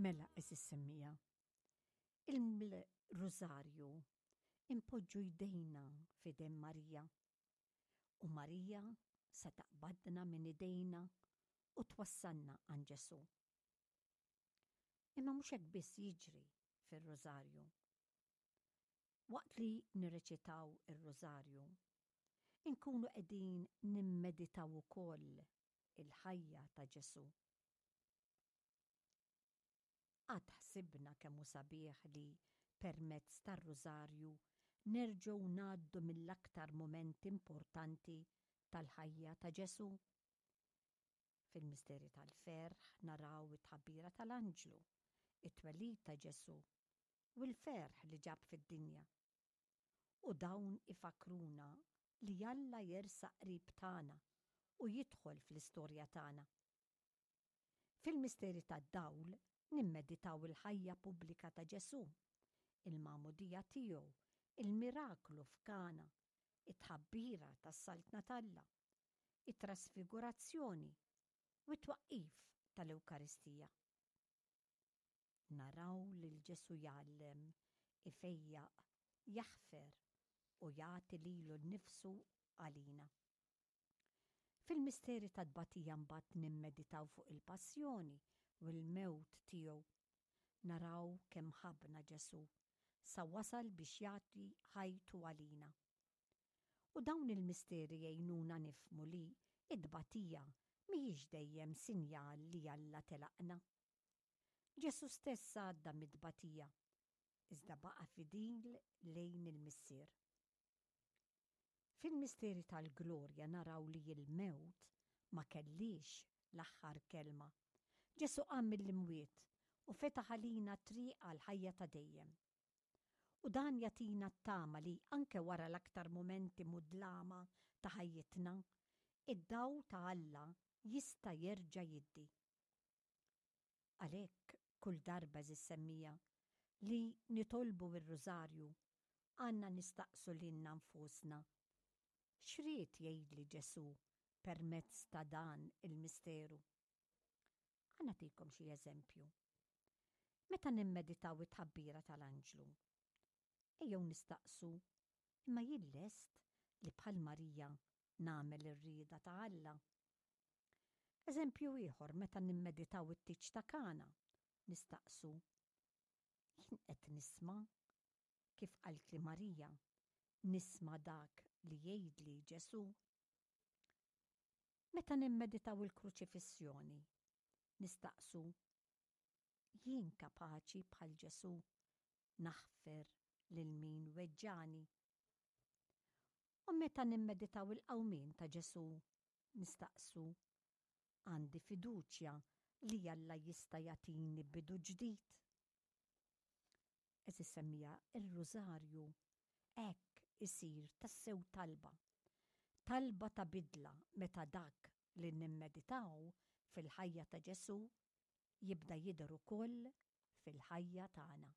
Mela, għeżież semmiegħa, il-Rużarju inpoġġu jdejna f'idejn Marija u Marija se taqbadna minn idejna u twassalna għand Ġesù. Imma mhux hekk biss jiġri fir-Rużarju. Waqt li nirreċitaw ir-Rużarju, inkunu qegħdin nimmeditaw ukoll il-ħajja ta' Ġesù. Qatt ħsibna kemm hu sabiħ li, permezz tar-Rużarju, nerġgħu ngħaddu mill-aktar mumenti importanti tal-ħajja ta' Ġesù? Fil-misteri tal-ferħ naraw it-tħabbira tal-anġlu, it-twelid ta' Ġesù, u l-ferħ li ġab fid-dinja. U dawn ifakkruna li Alla jersaq qrib tagħna u jidħol fl-istorja tagħna. Fil-misteri tad-dawl nimmeditaw il-ħajja pubblika ta' Ġesù, il-magħmudija tiegħu, il-miraklu f'Kana, it-tħabbira tas-Saltna t'Alla, it-trasfigurazzjoni u t-twaqqif tal-Ewkaristija. Naraw lil Ġesù jgħallem, ifejjaq, jaħfer u jagħti lilu nnifsu għalina. Fil-misteri tat-tbatija mbagħad nimmeditaw fuq il-passjoni u l-mewt tiegħu. Naraw kemm ħabbna Ġesù, sa wasal biex jagħti ħajtu għalina. U dawn il-misteri jgħinuna nifhmu li t-tbatija mhijiex dejjem sinjal li Alla telaqna. Ġesù stess għadda mit-tbatija, iżda baqa' fidil lejn il-Missier. Fil-misteri tal-glorja naraw li l-mewt ma kellhiex l-aħħar kelma. Ġesù qam mill-imwiet u fetaħ għalina t-triq għall-ħajja ta' dejjem. U dan jagħtina t-tama li anke wara l-aktar mumenti mudlama ta' ħajjitna, id-dawl ta' Alla jista' jerġa' jiddi. Għalhekk kull darba għeżież semmiegħa li nitolbu r-Rużarju għandna nistaqsu lilna nfusna, X'ried jgħidli Ġesù permezz ta' dan il-misteru? Ħa nagħtikom xi eżempju. Meta nimmeditaw it-tħabbira tal-anġlu, ejjew nistaqsu, Imma jien lest li bħal Marija nagħmel ir-rieda ta' Alla? Eżempju ieħor meta nimmeditaw it-tieġ ta' Kana, nistaqsu, Jien qed nisma' kif qaltli Marija, nisma' dak li jgħidli Ġesù? Meta nimmeditaw il-kruċifissjoni, nistaqsu, Jien kapaċi bħal Ġesù naħfer lil min weġġagħni? U meta nimmeditaw il-qawmien ta' Ġesù, nistaqsu, Għandi fiduċja li Alla jista' jagħtini bidu ġdid? Għeżież semmiegħa, ir-Rużarju hekk isir tassew talba. Talba ta' bidla meta dak li nimmeditaw fil-ħajja ta' Ġesù jibda jidher ukoll fil-ħajja tagħna.